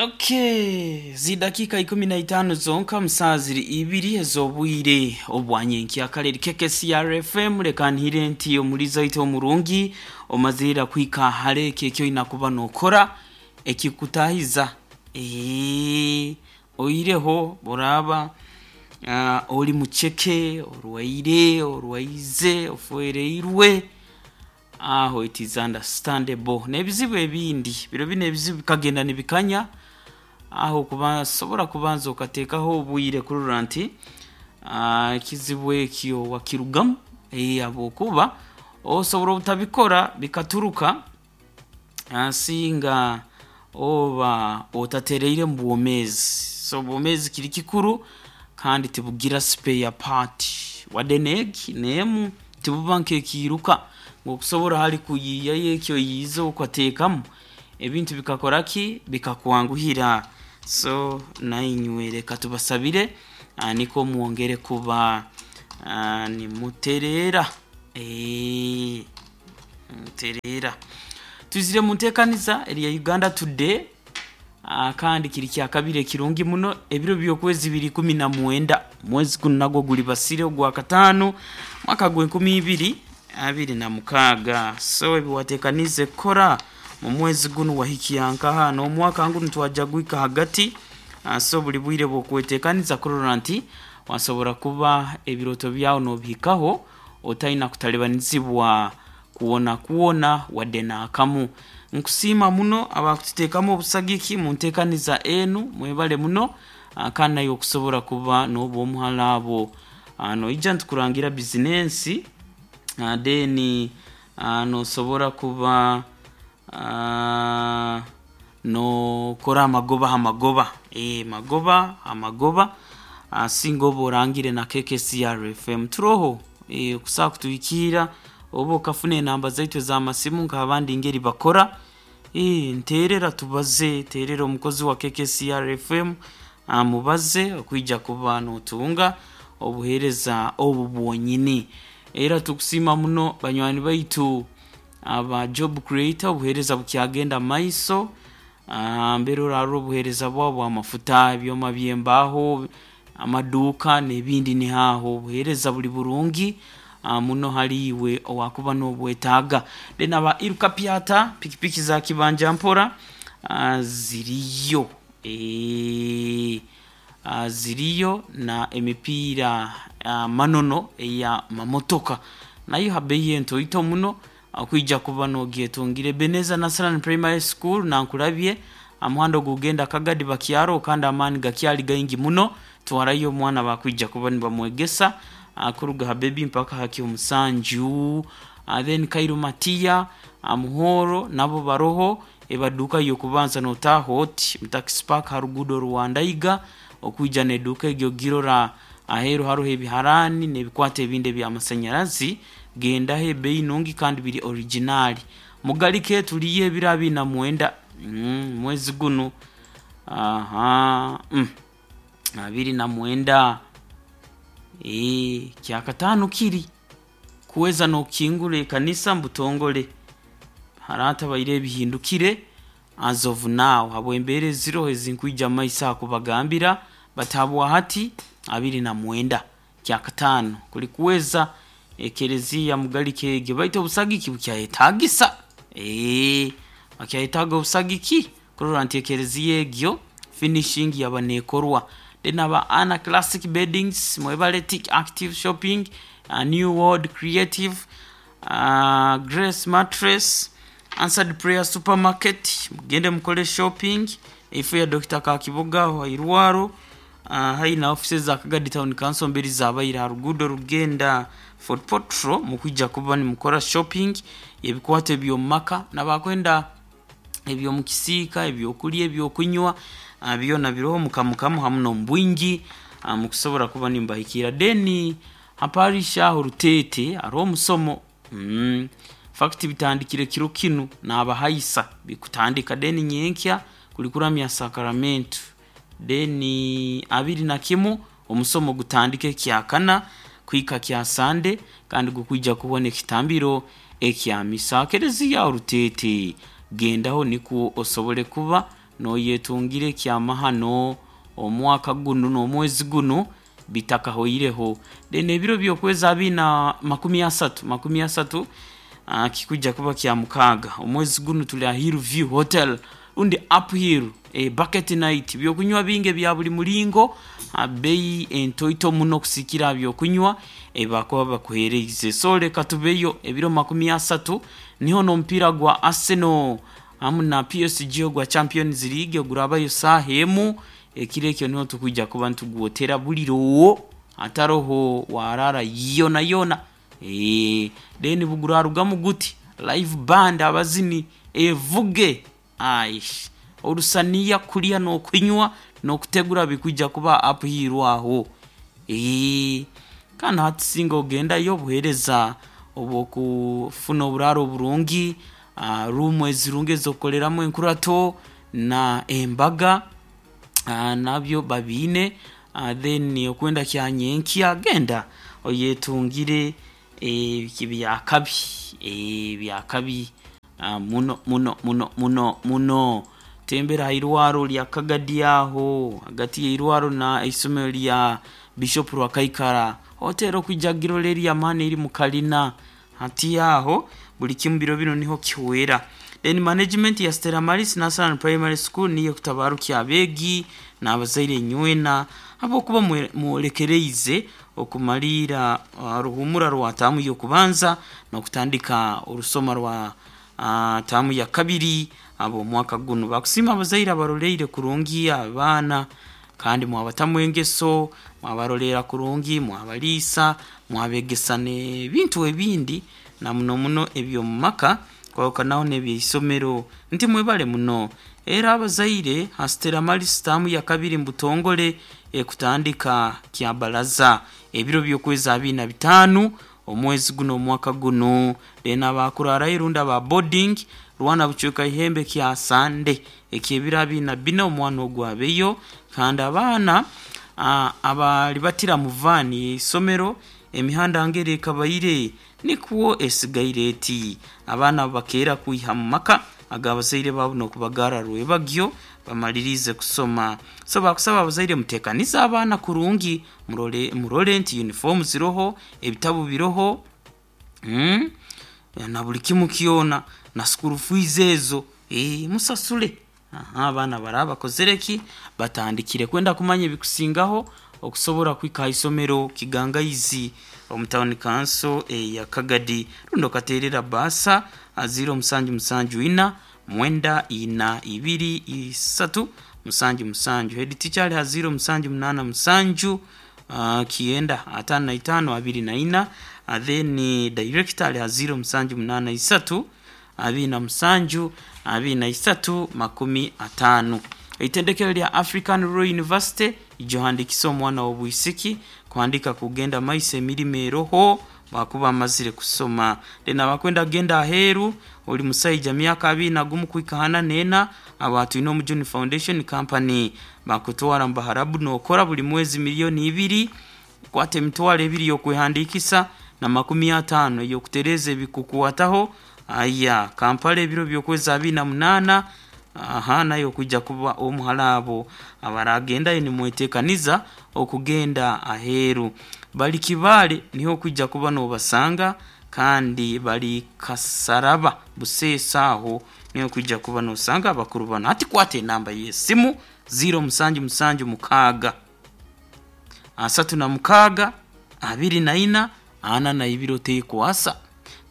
Okay, zidakika 15 zonka musaa ziri ibiri ez'obwire obwanyenkya kale KKCR FM. Leka nhire nti omuliza oitu omurungi omazirira kuhika hare ekyo ekyoina kuba nokora ekikutahiza. Oireho buraaba ori mucheke, orwaire, orwaize, ofwereirwe, aho it is understandable. N'ebizibu ebindi biro binu ebizibu bikagenda nibikanya aho kubasobora kubanza okateekaho obwire kurora nti ekizibu ekyo wakirugamu, habwokuba osobora obutabikora bikaturuka singa oba otatereire mu bwomeezi. So obwomeezi kiri kikuru kandi tibugira spare part, wadde n'egi n'emu tibuba nk'ekiiruka ngu okusobora hali kuyiiyayo eki oyiize okateekamu ebintu bikakora ki? Bikakwanguhira. So nainywe leka tubasabire nikwo mwongere kuba nimutereera, nimutereera. Twizire mu nteekaniza eri ya Uganda Today, kandi kiri kyakabiri ekirungi muno. Ebiro by'okwezi biri 19, mwezi gunu nagwo guli basire ogwakataano, mwaka gw'enkumi ibiri abiri na mukaaga. So ebi wateekaniize kukora mu mwezi gunu wahikya nkaha? N'omwaka ngunu twaja gwika hagati, so buli bwire bw'okweteekaniza kurora nti wasobora kuba ebirooto byawe n'obihikaho otaina kutalibanizibwa kwona kwona wadde n'akamu. Nkusiima muno abakututeekamu obusagiki mu nteekaniza enu, mwebale muno, kandi naiwe okusobora kuba n'oba omuhara abo. Noija nitukurangira bizinensi, then nosobora kuba nokora amagoba ha magoba, magoba ha magoba, singa oba orangire na KKCR FM. Turoho okusobola kutuhikiira oba okafuna enamba zaitu ez'amasimu nk'abandi ngeri bakora, nteerera tubaze, teerera omukozi wa KKCR FM mubaze okwija kuba nootunga obuheereza obu bwonyini. Era tukusiima muno banywani baitu aba Job Creator, obuheereza bukyagenda mu maiso, mbere orarora obuheereza bwabo bw'amafuta, ebyoma by'embaaho, amaduuka n'ebindi niho aho. Obuheereza buli burungi muno hali iwe owaakuba noobwetaaga. Then aba Iruka Pyata, pikipiki za kibanja mpora ziriyo, ziriyo na emipiira manono eya mamotoka nayo ha bei entoito muno okwija kuba nogyetungira. Ebenezer Nasarani Primary School Nankulabye aha muhanda ogukugenda Kagadi Bakyaro, kandi amaani gakyali gaingi muno. Twarayo omwana bakwija kuba nibamwegesa kuruga ha bebi mpaka ha ky'omusanju. Then Kairu Matia Muhoro nabo baroho ebaduuka y'okubanza n'otaaha oti mu Taxi Park ha ruguudo rwa Ndaiga okwija n'eduuka egyo ogirora. Aheeru haroho ebiharaani n'ebikwato ebindi eby'amasanyarazi, gendaho ebeeyi nungi kandi biri original. Mugalike tuliyo ebiro abiri na mwenda mwezi gunu, aha 29, kyakataano kiri kuweza n'okukingura ekanisa mu butongole. Haratabaire ebihindukire as of now habw'embeera eziroho ezinkwija mu maiso aha kubagambira, but habwa hati 29 kyakataano kuli kuweza ekereziya Mugalike egyo, baitu obusagiki bukyayetaagisa, bakyayetaaga obusagiki kurora nti ekereziya egyo finishing yaba neekorwa. Then aba Anna Classic Beddings, mwebale Tick Active Shopping, New World Creative, Grace Mattress, Answered Prayer Supermarket, mugende mukole shopping, eifo ya Dokita Kakibuga aho hairwaro, haihi na office za Kagadi Town Council mberi zabaire aha ruguudo rugenda Fort Portal, mukwija kuba nimukora shopping y'ebikwato eby'omu maka n'abakwenda eby'omu kisiika, eby'okulya, eby'okunywa, byona biroho mukamukamu hamu n'omu bwingi mukusobora kuba nimubahikirra. Then ha parish aho Ruteete hariho omusomo, fact bitandikire kiro kinu naabahaisa bikutandika, then nyenkya kuli kuramya sacramento, then 21 omusomo gutandike ekyakana kuhika kya Sande, kandi gukwija kuhwa n'ekitambiro ekya misa. Kereziya aho Ruteete gendaho nikwo osobole kuba. Noyetungira ekyamahano omwaka gunu n'omwezi gunu bitakahoireho. Then ebiro by'okwezi abiri na 30, 30, kikujja kuba kya mukaaga omwezi gunu, tuli aha Hill View Hotel rundi Uphill, bucket night, byokunywa bingi ebya buli mulingo ha bei entoito muno kusikira aha byokunywa ebibakuba bakuhereize. So leka tubeyo ebiro 30, niho n'omupiira gwa Arsenal hamu na PSG ogwa Champions League ogurabayo saaha emu ekiro ekyo, niho tukwija kuba nitugwotera buliro hataroho warara yona yona. Then bugurarugamu guti live band, abazini evuge, aish, orusaniya, kulya n'okunywa n'okutegura bikwija kuba Uphill aho. Kandi hati singa ogendayo, obuheereza obw'okufuna oburaaro oburungi, ruumu ezirungi ez'okukoleramu enkurato na embaga nabyo babiine. Then okwenda kyanyenkya genda oyetungire byakabi, byakabi muno muno muno muno muno. Tembera ha irwaro lya Kagadi aho hagati y'eirwaro na isomero lya Bishop Rwakaikara, hoteri okwija kugirora eri y'amaani eri mu kalina hati aho, buli kimu biro binu niho kihwera. Then management ya Stella Maris Nursery and Primary School niyo ekutabarukya abeegi n'abazaire nywena habwokuba mwolekereize okumaliira ruhumura rwa taamu y'okubanza n'okutandika orusoma rwa taamu ya kabiri ab'omwaka gunu. Bakusiima abazaire abaroleire kurungi abaana kandi mwabatamu engeso, mwabaroleera kurungi, mwabaliisa, mwabegesa n'ebintu ebindi na muno muno eby'omu maka kwahukanaho n'ebyeisomero, nti mwebale muno. Era abazaire ha Stella Maris taamu ya kabiri mu butongole ekutandika kyabalaza ebiro by'okwezi 25 omwezi guno omwaka gunu. Then abakurarayo rundi aba boarding, rwana bucweka ihembe kya Sande ekyebiro 24 omwana ogu abeyo. Kandi abaana abalibatira mu vaani y'eisomero, emihanda ngeri ekabaire nikwo esigaire eti, abaana abo bakeera kwiha mu maka ag'abazaire baabo n'okubagara rwebagyo bamaliriize kusoma. So bakusaba abazaire muteekanize abaana kurungi, murole, murole nti uniform ziroho, ebitabu biroho, na buli kimu kyona na school fees ezo, musasule. Aha, abaana baraba bakozere ki, batandikire kwenda kumanya ebikusingaho okusobora kuhika ha isomero Kigangaizi omu town council eya Kagadi, rundi okateerera baasa ha 0774 94 3 77. Head teacher ali ha 0787 9 55 24, then director ali ha 0783 27 23 50. Eitendekero lya African Rural University ijohandikisa omwana w'obwisiki kuhandika kugenda maiso, emirimo eroho bakuba amazire kusoma. Then abakwenda kugenda aheeru, oli musaija myaka 21 kuhika 44, abo twine Omujuni Foundation Company, bakutwara mu Baharabu nokora buli mwezi 2 miliyoni, kwata 20,000 y'okwehandikisa na 50 ey'okutereeza ebikukwataho. Aya Kampala ebiro by'okwezi 28, aha nayo okwija kuba omuhara abo abaragendayo nimwetekaniza okugenda aheeru, bali Kibaale niho okwija kuba nobasanga, kandi bali Kasaraba Buseesa, aho niho okwija kuba nosanga abakuru banu. Hati kwata enamba y'esimu 0776 36 24 42, otekwasa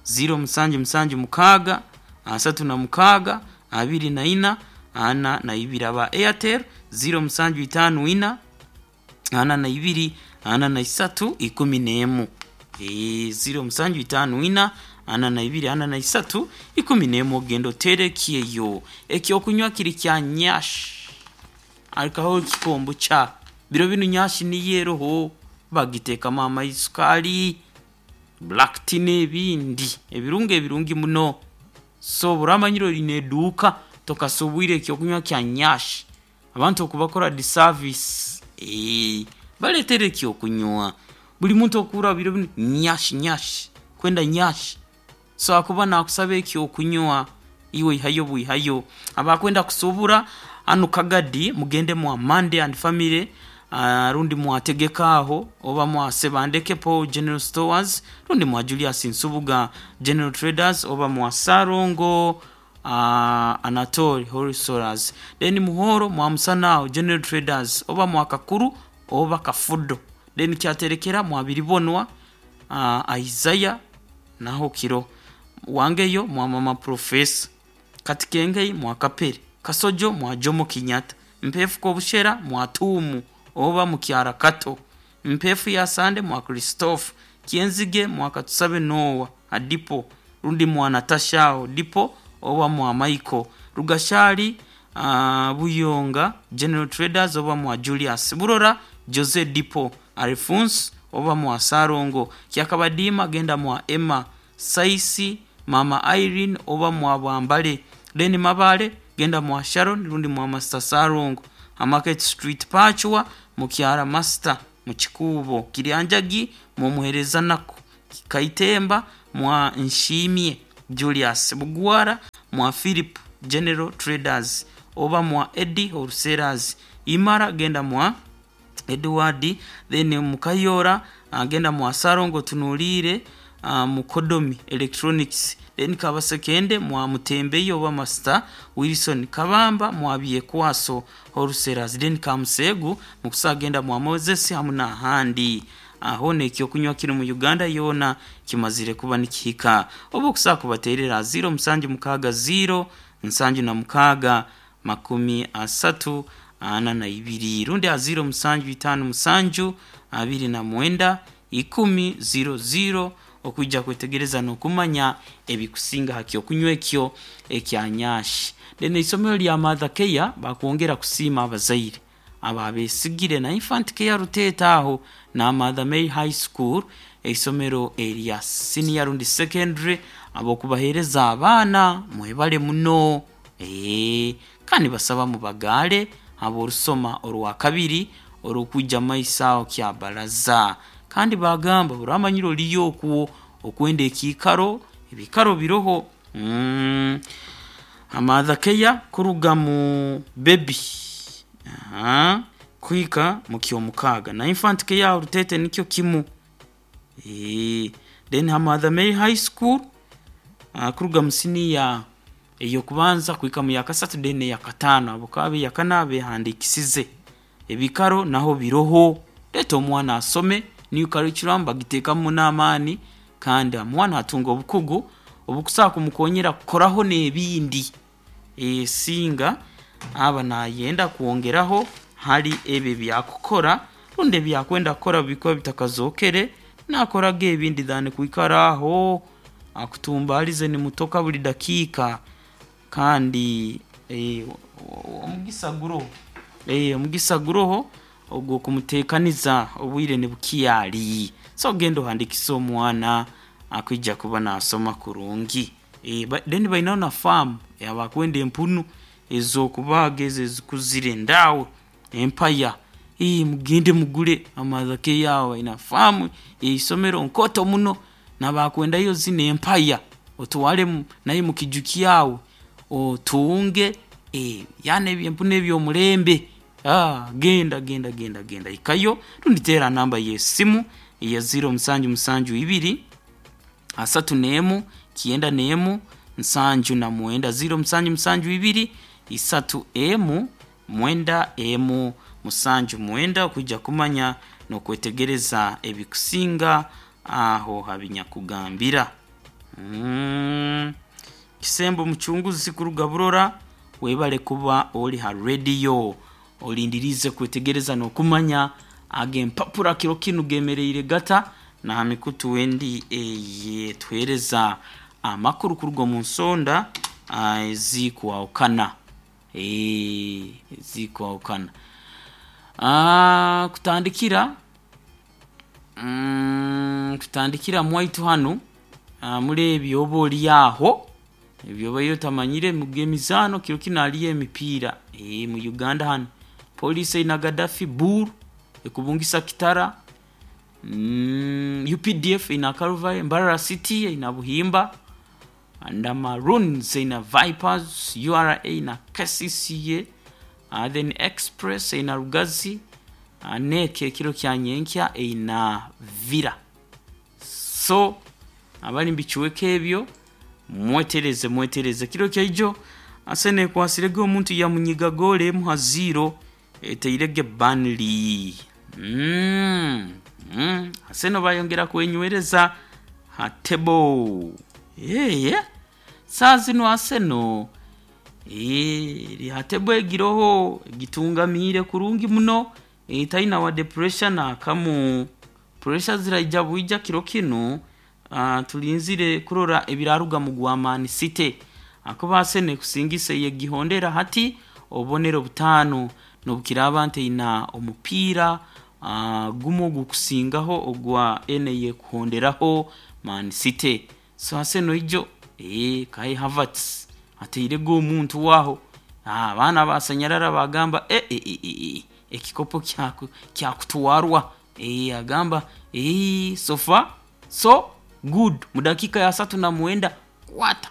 0776 36 24 42. Aba Airtel 0754 42 43 11, 0754 42 43 11, ogenda oterekyeyo ekyokunywa kiri kya nyash arikaho ekikombo kya biro binu. Nyash niyo eroho, bagiteekamu amaisukaali, black tea n'ebindi ebirungo ebirungi muno. So oburamanyire oine eduuka tokasubwire ekyokunywa kya nyash, abantu okubakora disservice, baletere ekyokunywa. Buli muntu okuura biro binu nyash, nyash, kwenda nyash. So akuba nakusaba ekyokunywa, iwe ihayo bwihayo. Abakwenda kusubura. Hanu Kagadi mugende mwa Monday and Family, rundi mwategeka aho oba mwa Sebandeke Paul General Stores, rundi mwa Julius Nsubuga General Traders, oba mwa Sarongo Anatole Wholesalers. Then Muhoro mwa Musanao General Traders, oba mwa Kakuru oba Kafudo. Then Kyaterekera mwa Biribonwa Isaiah naho kiro wangeyo mwa Mama Professor, Katikengei mwa Kapere, Kasojo mwa Jomo Kenyatta, Mpefu Kobushera mwa Tumu oba mukyara Kato, Mpefu ya Sande mwa Christophe, Kienzige mwa Katusabe Noah Adipo, rundi mwa Natasha Dipo oba mwa Michael Rugashari, Buyonga General Traders oba mwa Julius Burora Jose Dipo Alphonse oba mwa Sarongo Kyakabadima, genda mwa Emma Saisi Mama Irene oba mwa Bwambale. Then Mabale genda mwa Sharon rundi mwa Master Sarongo, Market Street Pachwa mukyara Master mukikubo Kiryanjagi mumuhereza nako Kaitemba mwa Nshimye Julius, Bugwara mwa Philip General Traders oba mwa Eddie Wholesalers, Imara genda mwa Edward. Then Mukayora genda mwa Sarongo Tunulire, Mukodomi Electronics. Then Kabasekende mwa Mutembeyo oba Master Wilson, Kabamba mwa Byekwaso Wholesalers. Then Kamusegu mukusagenda mwa Moses hamu n'ahandi aho nekyokunywa kiri mu Uganda yona kimazire kuba nikihika. Oba okusaa kubaterera 0 7 6 0 76 32, rundi a 0 7 5 7 29 10 00 okwijja kwetegereza n'okumanya ebikusinga ha kyokunywa ekyo ekyanyashi. Then isomero lya Mother Care bakwongera kusiima abazaire abo abesigire na Infant Care Ruteeta aho na Mother Mary High School, eisomero erya senior rundi secondary, abokubaheereza abaana. Mwebale muno. Kandi basaba mubagaale aborusoma orwakabiri orukwijja maiso aho kya baraza. Kandi bagamba buramanyire oliyo okwo okwenda ekiikaro, ebikaro biroho. Mother Care kuruga mu baby kuhika mu kyomukaaga, na Infant Care Rutete nikyo kimu. Then ha Mother Mary High School, kuruga mu siniya eyokubanza kuhika mu yakasatu, then eyakataano abo kabe eyakana behandikisize, ebikaro naho biroho. Leeta omwana asome. New curriculum bagiteekamu n'amaani, kandi omwana atunga obukugu obukusobola kumukonyera kukoraho n'ebindi, singa aba nayenda kwongeraho hali ebyo ebyakukora rundi ebyakwenda kukora bikuba bitakazokere nakoraga ebindi than kwikara aho akutumbalize nimutoka buli dakiika. Kandi omugisa guroho, omugisa guroho ogw'okumuteekaniza obwire nibukyali. So genda ohandikise omwana akwija kuba nasoma kurungi. Then bainaho na faamu yabakwenda empunu ez'okubaaga ezo ezikuzire ndaawe empaya. Mugende mugule Mother Care aho baina faamu eisomero nkoto muno, nabakwendayo zino empaya otwale naye mukiju kyawe otunge, yaani ebyempunu eby'omulembe. Genda genda genda genda ikayo rundi teera namba y'esimu eya 0 7 7 2 31 91 79, 0 7 7 2 3 1 9 1 79 okwijja kumanya n'okwetegereza ebikusinga aho habinyakugambira. Kisembo mucunguzi kuruga Burora, webale kuba oli ha rediyo olindirize kwetegereza n'okumanya ag'empapura kiro kinu gemereire gata na ha mikutu endi eyetuheereza amakuru kuruga omu nsonda ezikwahukana, ezikwahukana. Kutandikira kutandikira mwaitu hanu, muri ebyo oba oli aho ebyo obaire otamanyire emizaano kiro kinu haliyo emipiira mu Uganda hanu Police eine Gaddafi Bull ekubungisa Kitara, UPDF eine Calvary, Mbarara City eine Buhimba, and Maroons eine Vipers, URA na KCCA. Then Express eina Rugazi, NEC ekiro kya nyenkya eina Villa. So abali mubicweka ebyo mwetereze mwetereze. Kiro kyaijo Arsenal ekwasirege omuntu yamunyiga goolo emu ha ziiro eteirege Burnley. Arsenal bayongera kwenywereza ha table. Saaha zinu Arsenal eri ha table egiroho egitungamiire kurungi muno, taina wadde pressure naakamu. Pressure ziraija bwija kiro kinu, tulinzire kurora ebiraruga mu gwa Man City, ahakuba Arsenal ekusingisa eyegihondera hati obubonero butaano n'obukiraaba nti eina omupiira gumu ogukusingaho ogwa enu eyekuhonderaho Man City. So Arsenal ijo Kai Havertz ateirege omuntu aho, abaana basanyarara bagamba ekikopo kyakutwarwa. Agamba so far so good, mu dakiika ya 39 kwata.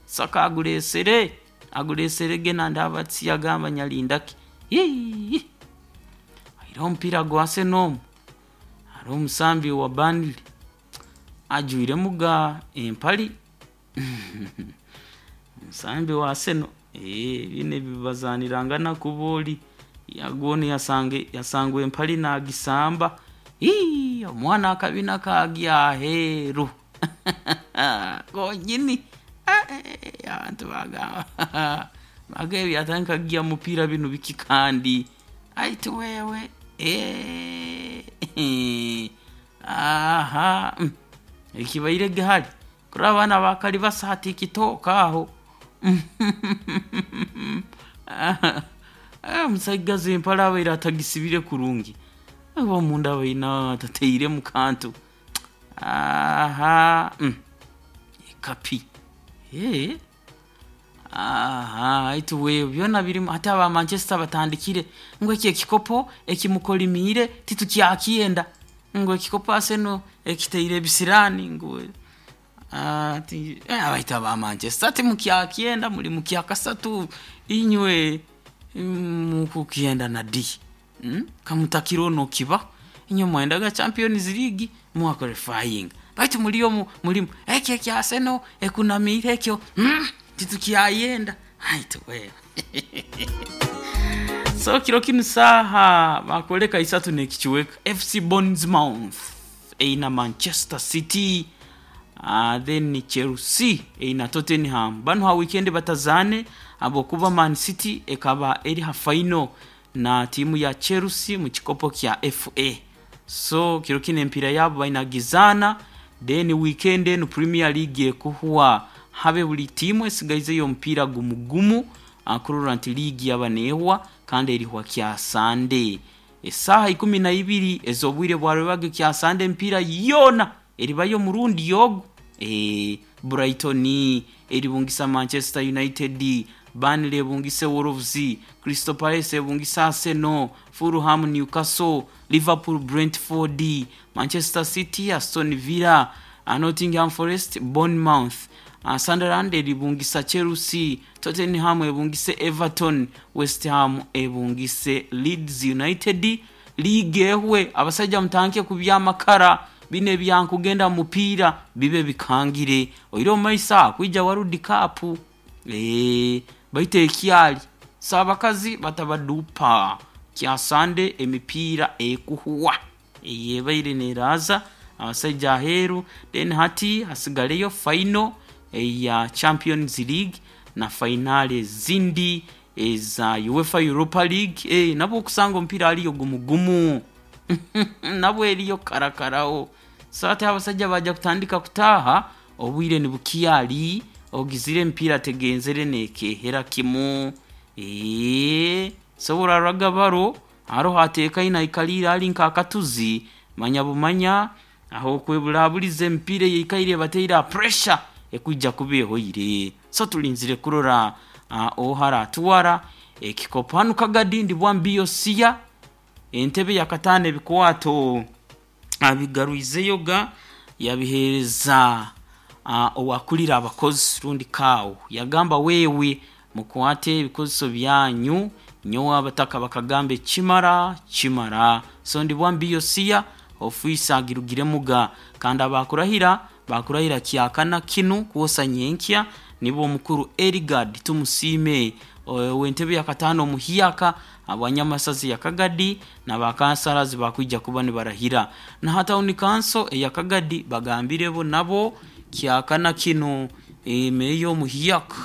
Saka agureesere, agureeserege nandi Havertz yagamba nyalindaki. Aire omupiira gwa Arsenal omu, hariho omusambi wa Burnley ajwiiremu ga empali omusambi wa Arsenal binu ebibazanirangana kuba ori gwona yasangwa empali nagisamba, omwana akabina kagya aheeru konyini abantu bagamba bagamba yatandika kugya mupiira binu biki kandi aitu wewe aha ekibairege hari kurora abaana bakali basa ha TikTok aho. Omusaigazi empale abaire atagisibire kurungi, oba omunda abaine atateiremu kantu. Aha ekapi aha baitu wewe byona birimu hati aba Manchester batandikire ngu eki ekikopo ekimukolimiire titukyakyenda, ngu ekikopo Arsenal ekiteire ebisiraani ngu baitu aba Manchester timukyakyenda muri mukyakasatu inywe mukukyenda na di? Kamutakirora nokibaho, inywe mwayendaga Champions League mwa qualifyinga baitu muriyo murimu eki ekya Arsenal ekunamiire ekyo titukyayenda baitu wewe. So kiro kinu saaha bakwoleka isatu n'ekicweka FC Bournemouth eina Manchester City, then Chelsea eina Tottenham. Banu ha weekend batazaane habwokuba Man City ekaba eri ha final na tiimu ya Chelsea mu kikopo kya FA. So kiro kinu empiira yaabo bainagizaana, then weekend enu Premier League ekuhwa habe buli tiimu esigaizeyo omupiira gumu gumu kurora nti liigi yaba neehwa kandi erihwa kya Sunday. Esaaha 12 ez'obwire bwa rwebagyo kya Sunday emipiira yoona eribayo omurundi ogu. Brighton eribungisa Manchester United, Burnley ebungise Wolves, Crystal Palace ebungise Arsenal, Fulham Newcastle, Liverpool Brentford, Manchester City Aston Villa, Nottingham Forest Bournemouth, Sunderland eribungisa Chelsea, Tottenham ebungise Everton, West Ham ebungise Leeds United. Liigi ehwe abasaija mutandike kubya amakara binu ebyankugenda mu mupiira bibe bikangire oire omu maiso aho kwija World Cup baitu ekyali so abakazi batabaduupa kya Sunday emipiira ekuhwa eyebaire neraaza abasaija aheeru then hati hasigareyo final eya Champions League na fainaali ezindi eza UEFA Europa League. Nabwo okusanga omupiira hariyo gumu gumu nabwo eriyo karakaraho. So hati abasaija baija kutandika kutaaha obwire nibukyari ogizire emipiira tegenzere neekehera kimu. So obu baro haroho ateekaine aikaliire ali nk'akatuzi manya bumanya aho okweburaaburiza emipiira eyeikaire ebateire ha pressure ekwija kuba ehoire. So tulinzire kurora oha aratwara ekikopo. Hanu Kagadi ndibwamu Biosia entebe yakataano ebikwato abigarwizeyo ga yabiheereza owakulira abakozi rundi CAO yagamba wewe. Mukwate ebikozeso byanyu. Nyowe abataka bakagamba ekimara kimara. So ndi bwambi Yosiya ofiisi agirugiremuga, kandi abakurahira bakurahira kyakana kinu kwosa nyenkya nibo omukuru Erigard Tumusiime ow'entebe yakataano omuhyaka abanyamasazi ya Kagadi, n'abakansarazi bakwija kuba nibarahira. Na ha tawuni kanso eya Kagadi bagambire bo nabo kyakana kinu meeya omuhyaka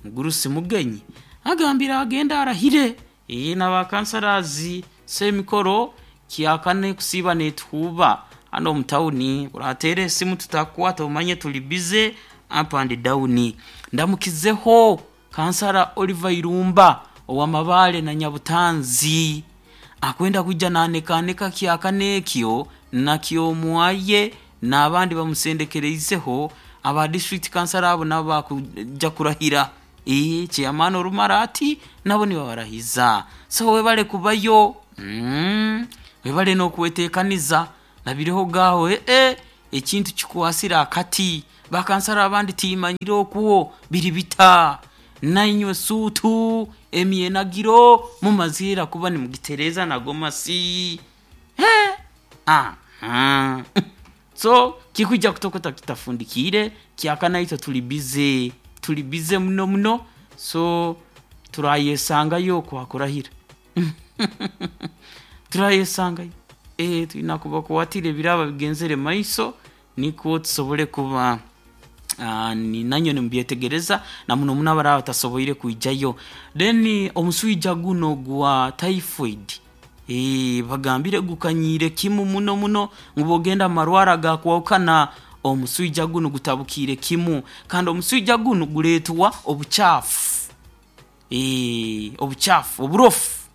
mugurusi Mugenyi agambire agenda arahire n'abakansarazi. So emikoro kyakane kusiiba netuhuuba hano omu tawuni, orateera esimu tutakukwata omanye tuli busy up and down. Ndamukizeho kansara Oliver Irumba ow'Amabaale na Nyabutanzi akwenda kwija naanekaaneka kyakana ekyo nakyomwaye n'abandi bamusendekereizeho aba district kansara abo nabo bakuja kurahira. Chairman orumara ati nabo nibabarahiza. So webale kubayo, webale n'okweteekaniza nabireho gaaho ekintu kikwasire akati bakansara abandi timanyire okwo biri bita. Nainywe suutu emyenagiro mumazire kuba nimugitereeza nago masi. Aha. So kikwija kutokota kitafundikiire kyakana itwe tuli busy, tuli busy muno muno, so turayesangayo okwakurahira. Turayesangayo. Twina kubakwatira ebiraba bigenzere maiso nikwo tusobole kuba nanywe nimubyetegereza na muno muno abaraba batasoboire kwijayo. Then omuswija guno gwa typhoid bagambire gukanyiire kimu muno muno ngu bwogenda omu marwaro agakwahukana omuswija gunu gutabukiire kimu, kandi omuswija gunu gureetwa obucaafu, obucaafu oburofu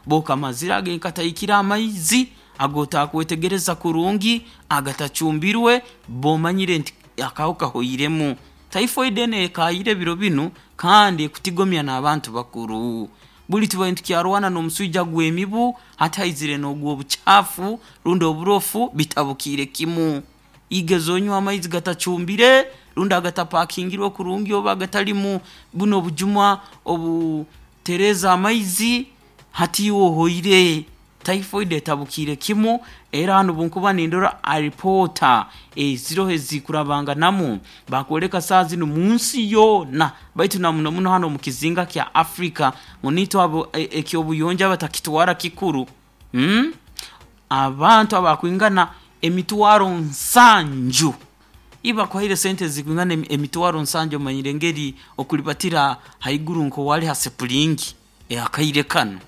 bwokamazire agenkataikire amaizi ag'otakwetegereza kurungi agatacumbirwe bomanyire nti akahuka kahoiremu. Typhoid enu ekaayire biro binu kandi ekutigomya n'abantu bakuru. Buli tubaire nitukyarwana n'omuswija gw'emibu, hati haizire n'ogw'obucaafu rundi oburofu bitabukiire kimu. Igeza onywe amaizi gatacumbire rundi agatapakingirwe kurungi oba agatalimu bunu obujuma obutereeza amaizi, hati iwe ohoire. Typhoid etabukiire kimu era hanu obunkuba nindora alipoota eziroho ezikurabanganamu bakwoleka saaha zinu munsi yoona baitu na muno muno hanu omu kizinga kya Africa ngu niitwe abo eky'obuyonjo abatakitwara kikuru. Abantu abakwingana emitwaro nsanju ibakuhaire sente ezikwingana emitwaro nsanju omanyire engeri okulibatira haiguru nk'owali ha sipulingi akaire kanu.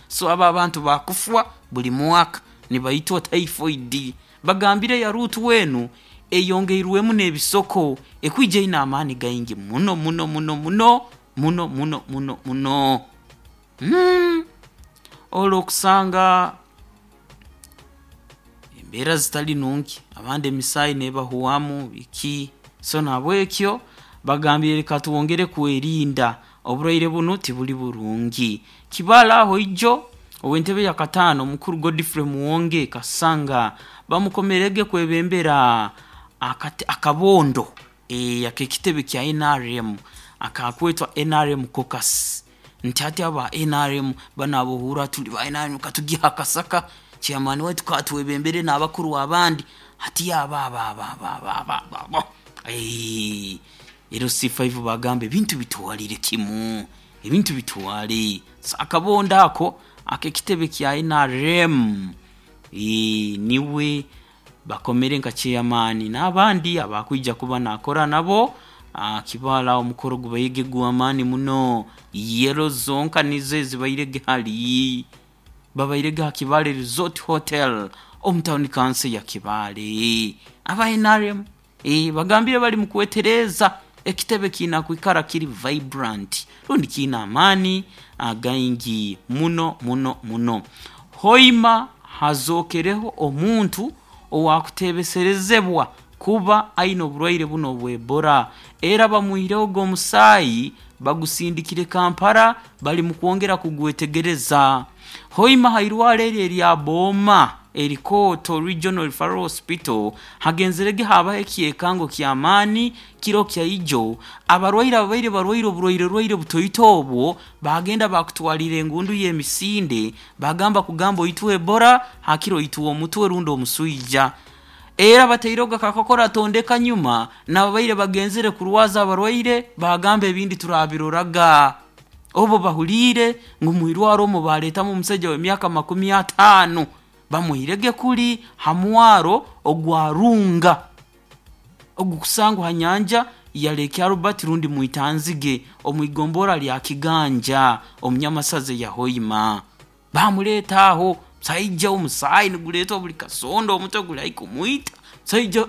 So abo abantu bakufwa buli mwaka nibaitwa typhoid. Bagambire ya ruutu enu eyongeirwemu n'ebisoko ekwija eine amaani gaingi muno muno muno muno muno muno muno muno. Ole okusanga embeera zitali nungi abandi emisaayi nebahwamu biki, so nahabwekyo bagambire leka twongere kwerinda oburwaire bunu tibuli burungi. Kibaale aho ijo ow'entebe yakataano omukuru Godfrey Muwonge Kasanga bamukomerege kwebembera akabondo ak'ekitebe kya NRM akakwetwa NRM Caucus. Nti hati aba NRM banu abohurra tuli ba NRM katugihe akasaka chairman waitu katwebembere n'abakuru abandi, hati abo abo abo abo abo abo abo abo LC5 bagamba ebintu bitwalire kimu, ebintu bitwale. So akabondo ako ak'ekitebe kya NRM niwe bakomere nka chairman n'abandi abakwija kuba naakora nabo. Kibaale aho omukoro gubairege gw'amaani muno, yellow zonka nizo ezibairege hali babairege ha Kibaale Resort Hotel omu tawuni kanso ya Kibaale. Aba NRM bagambire bali mu kwetereeza ekitebe kiina kwikara kiri vibrant rundi kiine amaani againgi muno muno muno. Hoima hazookereho omuntu owaakuteebeserezebwa kuba aine oburwaire bunu obw'Ebola, era bamwihireho omusaayi bagusindikire Kampala bali mu kwongera kugwetegereza. Hoima ha irwaro eri erya Booma. Erikoto Regional Referral Hospital hagenzerege habaho ekyekango ky'amaani kiro kya ijo. Abarwaire ababaire barwaire oburwaire rwaire butoito obwo bagenda bakutwalira engundu y'emisinde, bagamba kugamba oitwe Ebola hakiro oitwe omutwe rundi omuswija. Era bataireho akakokora tondeka nyuma, n'ababaire bagenzere kurwaza abarwaire bagamba ebindi turabiroraga. Obu bahuliire ngu mwirwaro omu baleetamu omusaija w'emyaka 50 bamuhirege kuli ha mwaro ogwa Runga ogukusangwa ha nyanja ya Lake Albert rundi Mwitanzige omu igombora lya Kiganja omu Nyamasaza ya Hoima. Bamuleeta aho, musaija omusaayi niguleetwa buli kasonda, omutwe guli haihi kumwita, musaija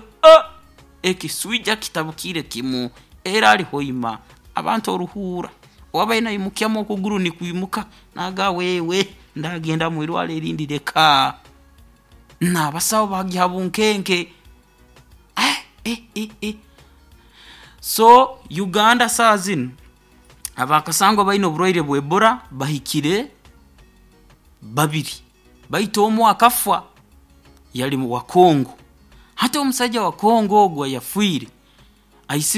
ekiswija kitabukiire kimu, era ali Hoima. Abantu oruhuura owabaire naimukyamu okuguru nikwimuka naagamba wewe ndagenda mwirwaro erindi leka. N'abasaho bagya ha bunkenke. So Uganda saaha zinu abakasangwa baine oburwaire bwa Ebola bahikire 2, baitu omu akafa yali wa Congo. Hati omusaija wa Congo ogu ayafiire aisirwe.